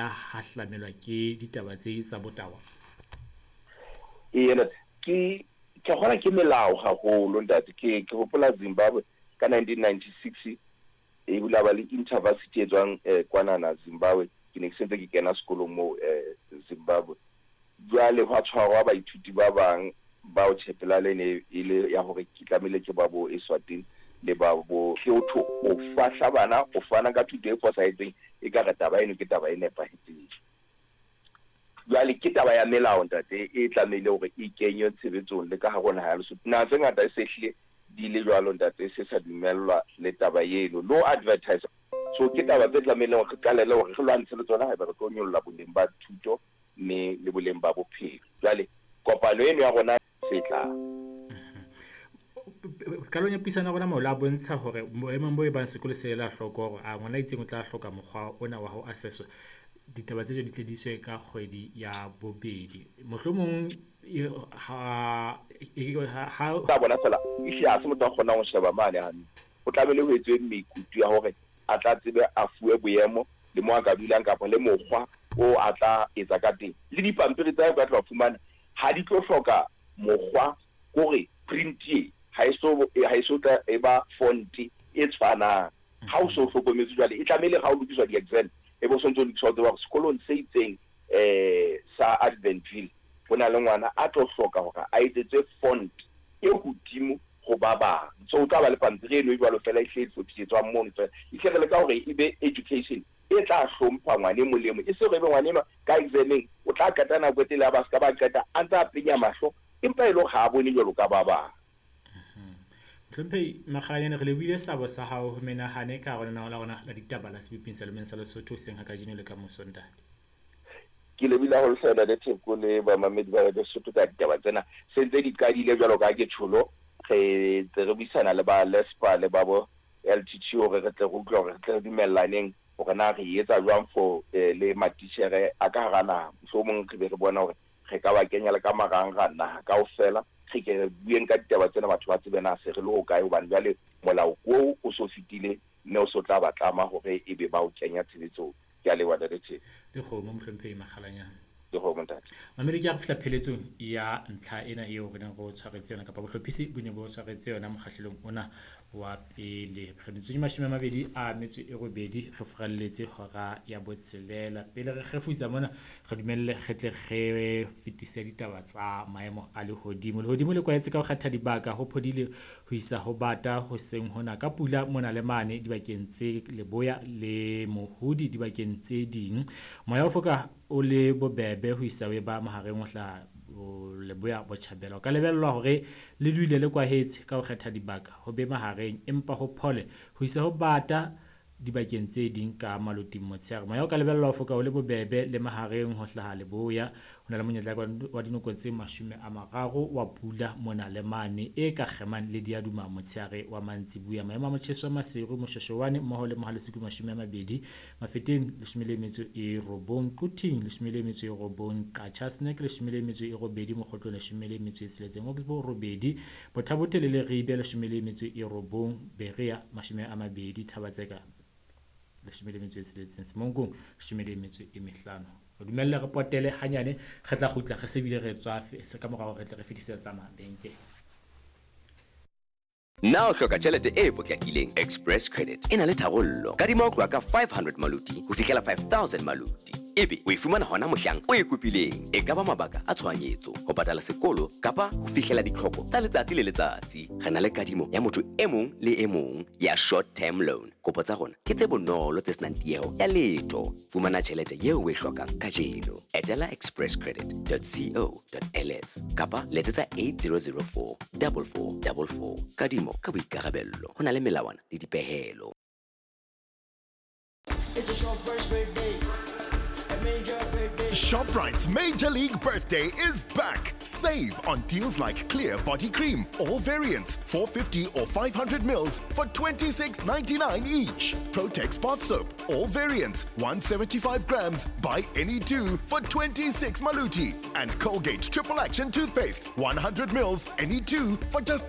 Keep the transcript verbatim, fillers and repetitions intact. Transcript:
hahlamelwa ke ditaba tse tsa botawa? Ee, ke ke kgona ke melao haholo ntate. Ke ke hopola Zimbabwe ka nineteen ninety-six e bula ba le intervarsity e tswang eh, kwanana Zimbabwe. Ke ne ke sentse ke kena sekolong moo eh, Zimbabwe. Jwale hwa tshwarwa baithuti ba bang bao tshepelale ne e le ya hore ke tlamehile ke ba bo Eswatini le ba bo Lesotho. O fahla bana, o fana ka thuto e fosahetseng, e ka re taba eno ke taba e nepahetseng. Jwale ke taba ya melao ntate e tlamehile hore e kenywe tshebetsong le ka hare ho naha ya Lesotho. Naha tse ngata e se hlile di le jwalo ntate, e se sa dumellwa le taba eno, no advertise. So ke taba tse tlamehileng hore re qalele hore re lwantshe le tsona haeba re tlo nyolla boleng ba thuto mme le boleng ba bophelo. Jwale kopano eno ya rona se tlang. Qalong ya puisano ya rona mo la bontsha hore boemong bo e bang sekolo se ela hloko hore a ngwana a itseng o tla hloka mokgwa ona wa ho assesswa, ditaba tse di tle di iswe ka kgwedi ya bobedi. Mohlomong ha ha tsa bona fela e hle ha se motho a kgonang ho sheba mane hantle. O tlamehile ho etswe mekutu ya hore a tla tsebe a fuwe boemo le mo a ka dulang kapa le mokgwa o a tla etsa ka teng. Le dipampiri tsa hae ka tla fumana ha di tlo hloka mokgwa hore print e ha e so ha e so tla e ba font e tshwanang. Ha o so hlokometse jwale e tlamehile ha o lokiswa di-exam e bo sontso lokiswa tseba hore sekolong se itseng eh sa Adventville ho na le ngwana a tlo hloka hore a etsetswe font e hodimo ho ba bang. So o tla ba le pampiri eno e jwalo fela e hle e hlophisetswang mono fela. E hle re leka hore e be education e tla hlompha ngwana e mong le e mong. E se hore ebe ngwana enwa ka exam-eng o tla qeta nako e telele a ba ska ba qeta a ntse a penya mahlo empa e le hore ha a bone jwalo ka ba bang. Mohlomphehi Makgalanyane, re lebohile sabo sa hao ho menahane ka hare ho lenaneo la rona la ditaba la Seboping sa Lemeng sa Lesotho hoseng ha kajeno le ka moso ntate. Ke lebohile haholo hle ntate Theko le bamamedi ba Radio Sesotho ka ditaba tsena. Se ntse di qadile jwalo ka ke tjholo, re ntse re buisana le ba LESPA le ba bo L T T hore re tle re utlwe hore re tle re dumellaneng hore na re etsa jwang for le matitjhere a ka hara naha. Mohlomong re be re bona hore re ka ba kenya le ka marangrang naha kaofela, re ke re bueng ka ditaba tsena batho ba tsebe na se re le hokae, hobane jwale molao oo o so fetile mme o so tla ba tlama hore ebe ba o kenya tshebetsong. Ke a leboha ntate Theko. Dikgomo mohlomphehi Makgalanyane. Dikgomo ntate. Mamedi, ke a re fihla pheletsong ya ntlha ena eo re neng re o tshwaretse yona kapa bohlophisi bo ne bo tshwaretse yona mokgahlelong ona wa pele. Re metsotso e mashome a mabedi a metso e robedi re furalletse hora ya botshelela. Pele re kgefutsa mona re dumelle re tle re fetise ditaba tsa maemo a lehodimo. Lehodimo le kwahetse ka ho kgetha dibaka ho phodile ho isa ho bata hoseng hona ka pula mona le mane dibakeng tse leboya le mohodi dibakeng tse ding. Moya o foka o le bobebe ho isa o ba mahareng ho hlaha leboya botjhabela. O ka lebellwa hore le dule le kwahetse ka ho kgetha dibaka ho be mahareng empa ho phole ho isa ho bata dibakeng tse ding ka maloting motshehare. Moya o ka lebellwa ho foka o le bobebe le mahareng ho hlaha leboya. Ho na le monyetla wa dinoko tse mashome a mararo wa pula mona le mane e ka kgemang le diaduma motshehare wa mantsibuya. Maemo a motjheso wa Maseru, Moshoeshoane mmoho le Mohale'shoek mashome a mabedi, Mafeteng leshome le metso e robong, Quthing leshome le metso e robong, Qacha's Nek leshome le metso e robedi, Mokhotlong leshome le metso e tsheletseng, Oxbow robedi, Botha-Bothe le Leribe leshome le metso e robong, Berea mashome a mabedi, Thaba-Tseka leshome le metso e tsheletseng, Semonkong leshome le metso e mehlano. Re dumelle re potele hanyane, re tla kgutla re se bile re tswa se ka morao re tle re fetisetsa mabenkele. Na o hloka tjhelete e potlakileng? Express Credit e na le tharollo. Kadima ho tloha ka five hundred maluti ho fihlela five thousand maluti. Ebe o e fumana hona mohlang o e kopileng. E ka ba mabaka a tshohanyetso, ho patala sekolo kapa ho fihlela ditlhoko tsa letsatsi le letsatsi. Re na le kadimo ya motho e mong le e mong ya short term loan. Kopo tsa rona ke tse bonolo tse senang tieho ya letho. Fumana tjhelete eo o e hlokang kajeno. Etela express credit dot co dot L S kapa letsetsa eight zero zero four double four double four. Kadimo ka boikarabello. Ho na le melawana le dipehelo. It's a Shoprite's birthday. Major birthday. Shoprite's Major League Birthday is back. Save on deals like Clear Body Cream, all variants, four fifty or five hundred mils for twenty-six ninety-nine each. Protex Bath Soap, all variants, one seventy-five grams, buy any two for twenty-six maluti. And Colgate Triple Action Toothpaste, one hundred mils, any two for just